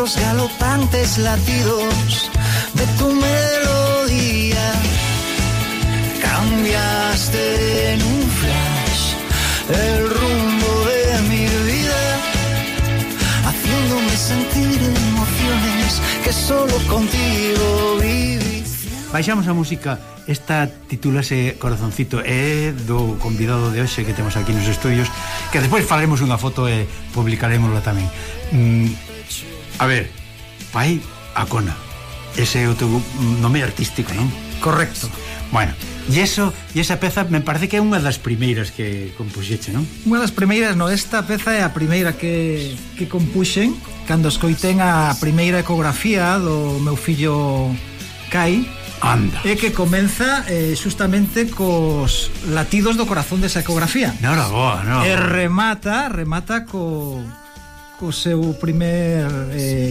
los galopantes latidos de tu melodía. Cambiaste en un flash el rumbo de mi vida, haciéndome sentir emociones que solo contigo viví. Baixamos a música. Esta titúlase Corazoncito, é do convidado de hoxe que temos aquí nos estudios, que despois faremos unha foto e publicaremosla tamén. A ver, Pai Acona, ese é o teu nome artístico, non? Correcto. Bueno, e esa peza me parece que é unha das primeiras que compuxeche, non? Unha das primeiras, no, esta peza é a primeira que compuxen cando escoitén a primeira ecografía do meu fillo Kai. Anda. E que comeza justamente cos latidos do corazón desa ecografía. Nora boa, no. E remata co seu primer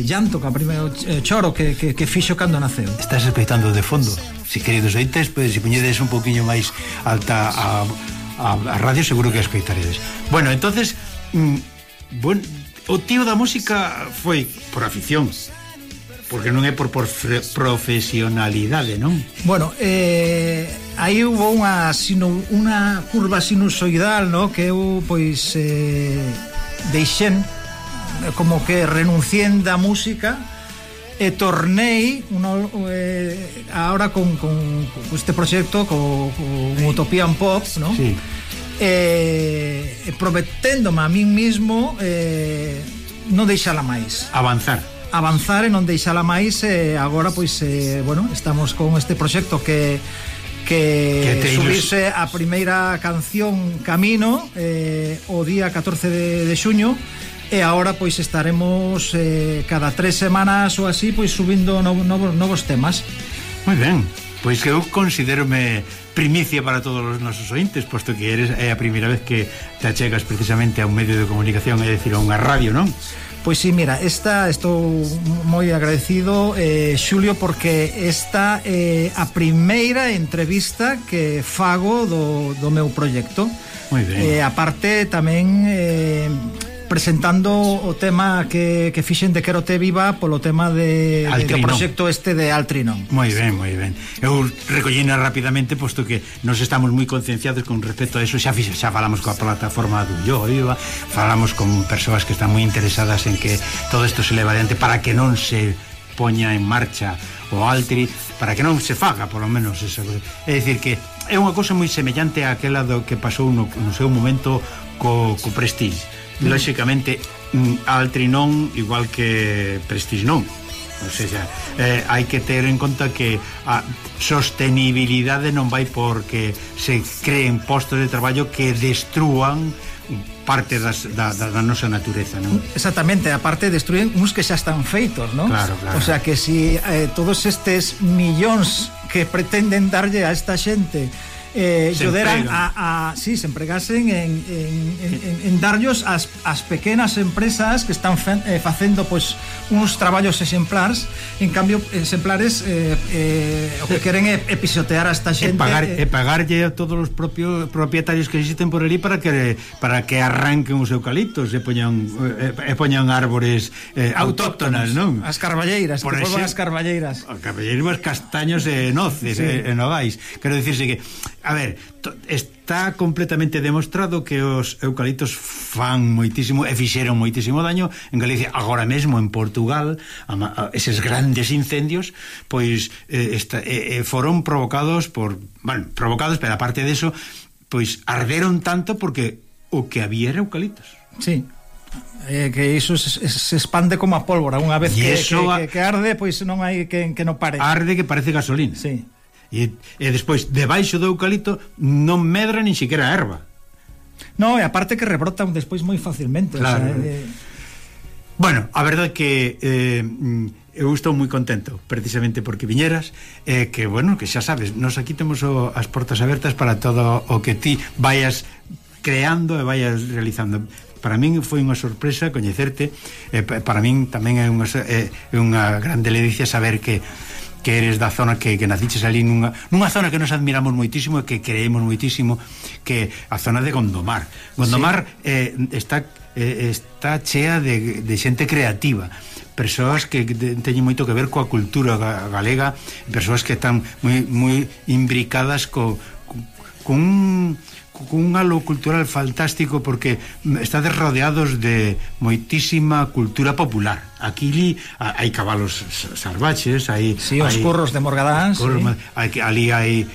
llanto, co primer choro que fixo cando naceu. Estás espeitando de fondo. Si queridos ointes, pues, se poñedes un poquinho máis alta a radio, seguro que escoitaredes. Bueno, entonces bueno, o tío da música foi por afición, porque non é por profesionalidade, non? Bueno, aí hubo unha curva sinusoidal, no? Que eu, pois, deixen como que renuncien da música e tornei ahora con este proxecto con Utopian Pop, no? Sí. Prometéndome a min mismo non deixala máis, avanzar e non deixala máis. Agora, pois, bueno, estamos con este proxecto que subirse a primeira canción Camino o día 14 de xuño, e agora, pois, estaremos cada 3 semanas ou así, pois, subindo novos temas. Moi ben, pois que eu considérome primicia para todos os nosos ointes, posto que é a primeira vez que te achegas precisamente a un medio de comunicación, é dicir, a unha radio, non? Pois sí, mira, estou moi agradecido, Xulio, porque esta é a primeira entrevista que fago do meu proxecto. Moi ben. Aparte, tamén presentando o tema que fixen de Quero Te Viva polo tema do proxecto este de Altrinon. Moi ben, moi ben. Eu recollina rapidamente, posto que nos estamos moi concienciados con respecto a eso. Xa falamos coa plataforma do Yo Viva, falamos con persoas que están moi interesadas en que todo isto se leva adiante para que non se poña en marcha o Altri, para que non se faga, polo menos esa cosa. É dicir que é unha cosa moi semellante a aquela do que pasou no seu momento co Prestige. Lóxicamente, Altri non, igual que Prestige non. O sea, hai que ter en conta que a sostenibilidade non vai porque se creen postos de traballo que destrúan parte da nosa natureza, non? Exactamente, aparte destruen uns que xa están feitos, non? Claro. O sea, que si todos estes millóns que pretenden darlle a esta xente ayudaran se empregasen en darllos as pequenas empresas que están facendo, pois, uns traballos exemplares. En cambio, exemplares o que queren é pisotear a esta xente e pagarlle a todos os propios propietarios que existen por ali para que arranquen os eucaliptos e poñan árbores autóctonas, non? As carballeiras, que volvan as carballeiras. Carballeiras, castaños e noces, e nogais. Quero dicirse que, a ver, está completamente demostrado que os eucaliptos fan moitísimo e fixeron moitísimo daño en Galicia. Agora mesmo en Portugal, eses grandes incendios, pois foron provocados pero aparte de eso, pois arderon tanto porque o que había era eucaliptos. Sí. Que iso se expande como a pólvora. Unha vez que arde, pois non hai que non pare. Arde que parece gasolina. Sí. E despois, debaixo do eucalipto non medra nin siquiera a erva. No, e aparte que rebrotan despois moi facilmente. Claro. O sea, bueno, a verdade que eu estou moi contento precisamente porque viñeras, que, bueno, que xa sabes, nos aquí temos as portas abertas para todo o que ti vayas creando e vayas realizando. Para min foi unha sorpresa coñecerte, para min tamén é unha grande ledicia saber que eres da zona que naciches ali nunha zona que nos admiramos moitísimo e que creemos moitísimo, que a zona de Gondomar. Gondomar está chea de xente creativa, persoas que teñen moito que ver coa cultura galega, persoas que están moi imbricadas con un halo cultural fantástico, porque estades rodeados de moitísima cultura popular. Aquí hai cabalos salvaches, hai os curros de Morgadán, ali hai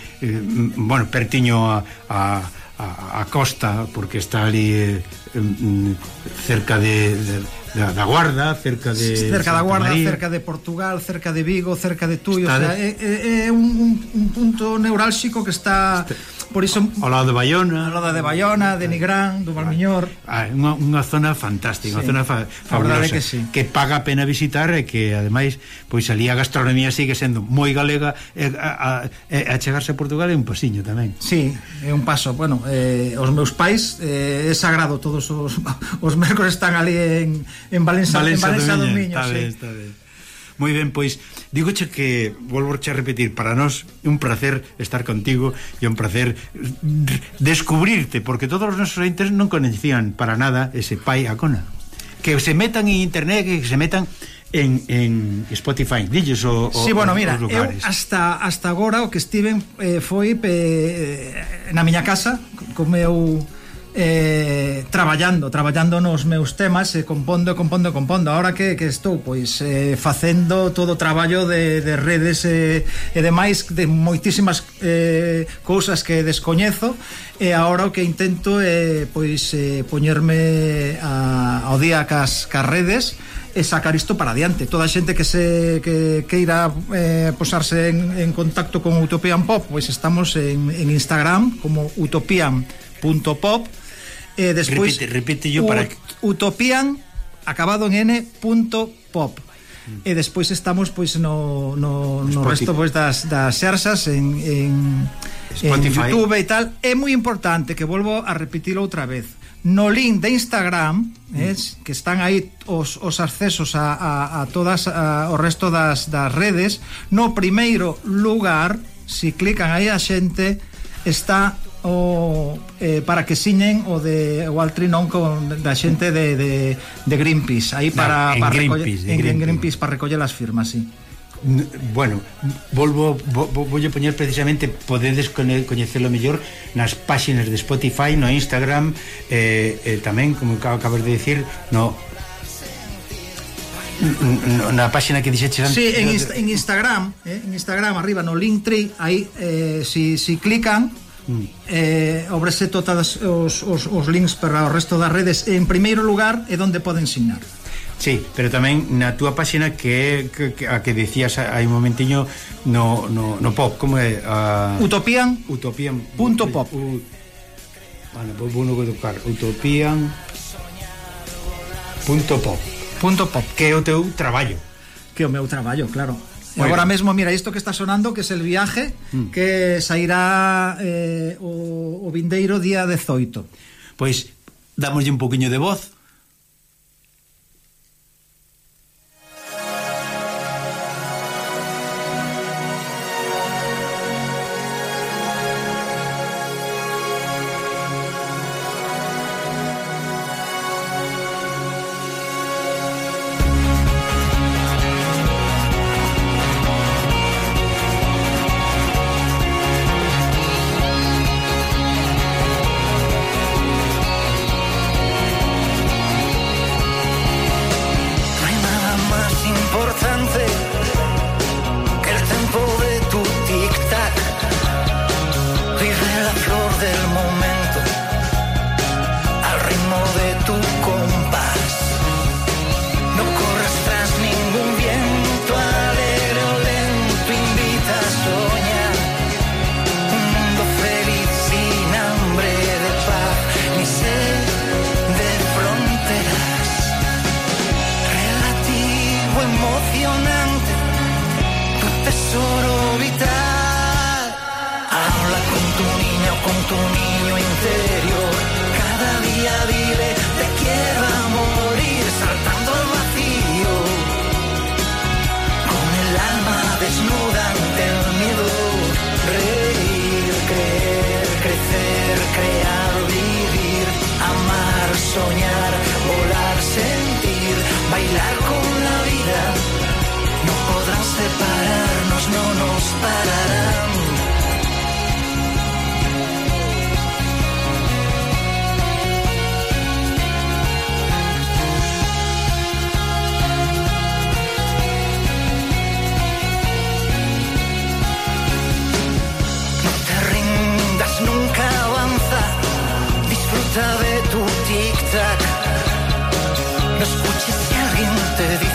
pertiño a costa, porque está ali cerca da Guarda, cerca da Guarda, cerca de Portugal, cerca de Vigo, cerca de Tui, é un punto neurálxico que está por iso ao lado de Bayona, de Nigrán, do Valmiñor. Unha zona fantástica, unha zona fabulosa, que paga a pena visitar, e que ademais pois ali a gastronomía sigue sendo moi galega, e a chegarse a Portugal é un pasiño tamén. Sí, é un paso. Bueno, os meus pais é sagrado, todos os mércores están ali en Valença do Miño. Está ben. Moi ben, pois dígoche que volvorche a repetir, para nós é un placer estar contigo, e un placer descubrirte, porque todos os nosos ointes non coñecían para nada ese pai Acona. Que se metan en internet, que se metan en Spotify, dilles sí, bueno, mira, eu hasta agora o que estiven foi na miña casa co meu traballando nos meus temas, compondo. Ahora que estou pois facendo todo o traballo de redes e demais, de moitísimas cousas que descoñezo, e agora o que intento é pois poñerme ao día cas redes e sacar isto para adiante. Toda a xente que queira posarse en contacto con Utopian Pop, pois estamos en Instagram como utopian.pop. Despois repite yo para Utopian acabado en n.pop. E despois estamos pois no resto pois das xersas en YouTube e tal. É moi importante, que volvo a repetilo outra vez, no link de Instagram, que están aí os accesos a todas o resto das redes. No primeiro lugar, si clican aí a xente, está para que siñen o altrinón da xente de Greenpeace, aí para Greenpeace para recoller as firmas, sí. Bueno, voulle poñer precisamente, podedes coñecelo mellor nas páxinas de Spotify, no Instagram, tamén, como acabas de decir, na páxina que dixeches antes. Sí, en Instagram arriba no Linktree, aí si clican obrese todos os links para o resto das redes. En primeiro lugar é onde poden signar. Sí, pero tamén na túa páxina, que a que decías hai un momentiño, no pop, como é? Utopian.pop. Bueno, vou no tocar Utopian.pop, que é o teu traballo. Que é o meu traballo, claro. E agora mesmo, mira, isto que está sonando, que é El Viaje, que sairá o vindeiro día 18. Pois dámoslle un poquinho de voz. te